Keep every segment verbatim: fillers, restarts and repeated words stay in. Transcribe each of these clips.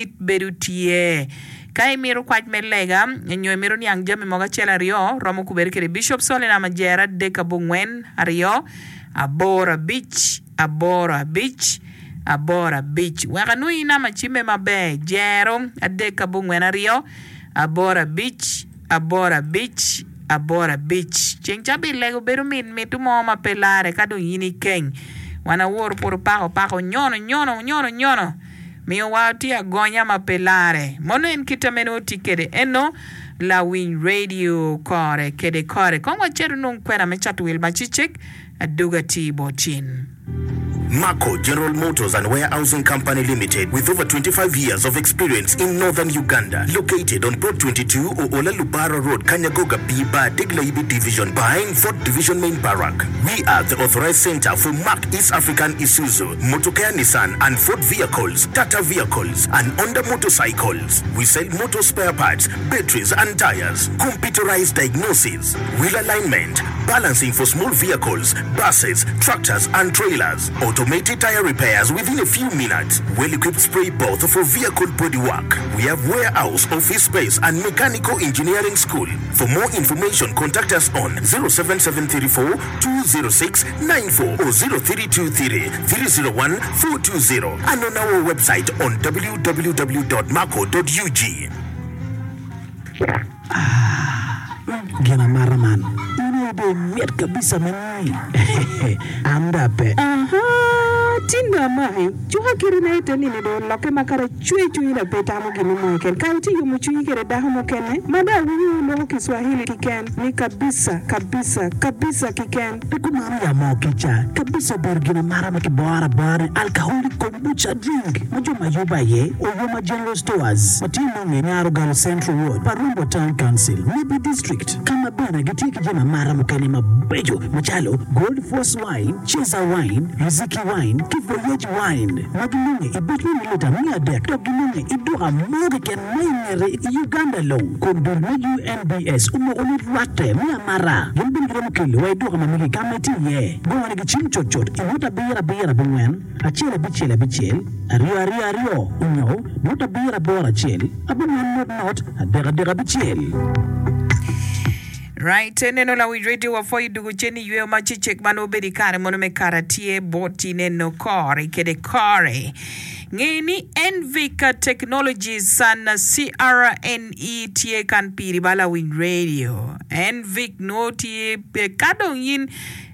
Bedo tye. Ka imito kwac me lega nyo imito niang jami mogo acel aryo, romo kubere kwede Bishop Solina Majera adek abongwen aryo aboro abic aboro abic aboro abic. Wek anwongi namba cimme maber, jero adek abongwen aryo aboro abic aboro abic aboro abic. Ceng cabit lego bedo mit mitu mo ma pe lare ka dong in ikeng. Wan awor pud opako pako nyono nyono nyono nyono. Miyowa tye agonya ma pe lare. Mono en kite meno otye kede eno lawiny radio kore kede kore. Kong wacito nong kwena me cato wil ma cicek aduga tye bot cin. Marco General Motors and Warehousing Company Limited, with over twenty-five years of experience in northern Uganda, located on Plot twenty-two Oola Lubara Road, Kanyagoga B Bar, Degla Division, behind Fort Division Main Barrack. We are the authorized center for Mark East African Isuzu, Motokea Nissan and Ford vehicles, Tata vehicles, and Honda motorcycles. We sell motor spare parts, batteries and tires, computerized diagnosis, wheel alignment, balancing for small vehicles, buses, tractors and trailers, automated tire repairs within a few minutes, well-equipped spray booth for vehicle bodywork. We have warehouse, office space and mechanical engineering school. For more information, contact us on zero seven seven three four two zero six nine four or zero three two three three zero one four two zero and on our website on w w w dot marco dot u g. Ah, gin amata man. In aye dong imit kabisa me ni. An dong ape. Aha, tin dong amaki. Cuka kiti na ite nini dong olokke ma kara cwer cwinyi dok pe itamo gin mo keken. Kara itye yomo cwinyi kede dako mukene ma dong awinyo wuloko Kiswahili kiken ni kabisa, kabisa, kabisa kiken. Pe kumano ya moo kica. Kabisa obedo gin amata ma kiboro abora ni alcoholic kombucha drink ma jo ma yubo aye Oyoma General Stores ma tye nonge Nyarogalo Central Ward, Parumbo Town Council, Nebbi District, ka ma bene gitye ki jami amata mukene mabeco macalo Gold Force Wine, Chaser Wine, Riziki Wine ki Voyage Wine ma ginonge i buc me mililita miya adek dok ginonge i duka mo keken ma i ngete i Uganda long. Kun dul me U N B S omoko ni rwatte me amata gin bene giromo kelo wa i duka ma megi ka ma itye iye. Gone gicim cutcut i nut abiro abiro abongwen acel abicel abicel aryo aryo aryo onyo nut abiro aboro acel abongwen not not adek adek abicel. Right, neno lawic radio wa pwoyo dugu cen i yweyo ma cecek ma nongo bedo i kare mono me kara tye boti neno kore kede kore. Nge ni Envic Technologies and C R N E tye kan piri ba lawiny radio. Envic nongo tye ka dong in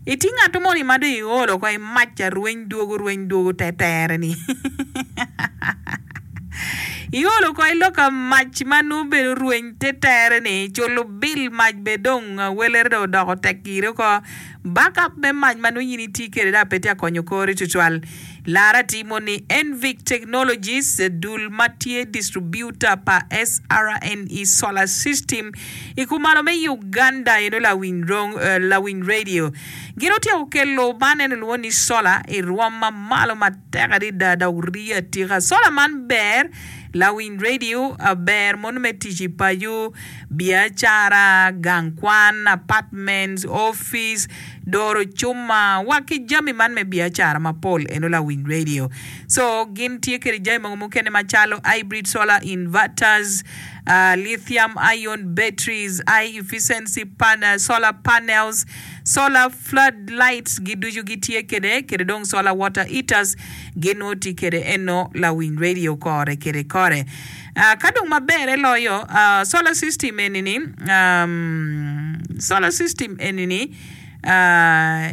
itye ngat moni ma dong iolo ko imac arweny dwogo rweny dwogo tetere ni. Iolo ko iloka mac ma nongo bedo rweny tetere ni culo bil mac be dong welere dong odoko tek ire ko backup me mac ma nongo in itye kwede dong pe tye akonyo kori tutwal. Lara timo ni Envic Technologies dul ma tye distributor pa S R N E Solar System i kumalo me Uganda eno lawiny rong lawiny radio. Gin otyeko kelo man eno lwongo ni solar i rwom ma malo matek adada dok rii atika. Solar man ber lawiny radio ber mono me tic i paco, biacara, gang kwan, apartments, office, doro cuma wa ki jami man me biacara mapol eno lawiny radio. So gin tye kede jami mogo mukene macalo hybrid solar inverters, uh, lithium ion batteries, high efficiency pan- solar panels, solar floodlights giducu gitye kede kede dong solar water heaters gin tye kede eno lawiny radio kore kede kore. Uh, ka dong maber eloyo uh, solar system enini um, solar system enini uh,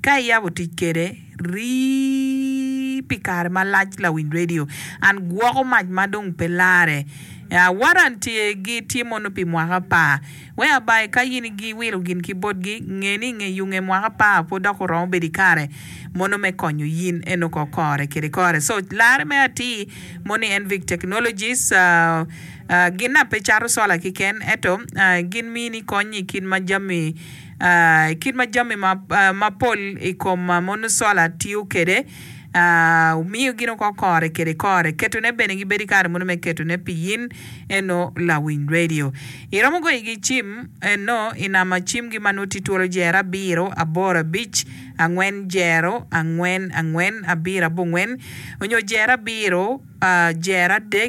ka iyabo tic kede rii pi kare malac lawiny radio an gwoko mac ma dong pe lare. Uh, warranty gi tye mono pi mwaka apar. Whereby ka in giwilo gin ki botgi nge ni nge yunge mwaka apar pud dok oromo bedo i kare mono me konyo yin eno ko kore kede kore. So lare me atir moni Envic Technologies uh, uh, gin na pe cato solar kiken eto uh, gin mini kony i kit ma jami uh, kit ma jami ma, uh, mapol i kom uh, mono solar tiyo kede. Wumiyo gin oko kore kede kore. Ketone bene gibedo i kare mono me ketone pi in eno lawiny radio. Iromo goyo igi cim eno i namba cimgi ma nongo tye twolo jero abiro aboro abic angwen jero angwen angwen abiro abongwen onyo jero abiro jero adek.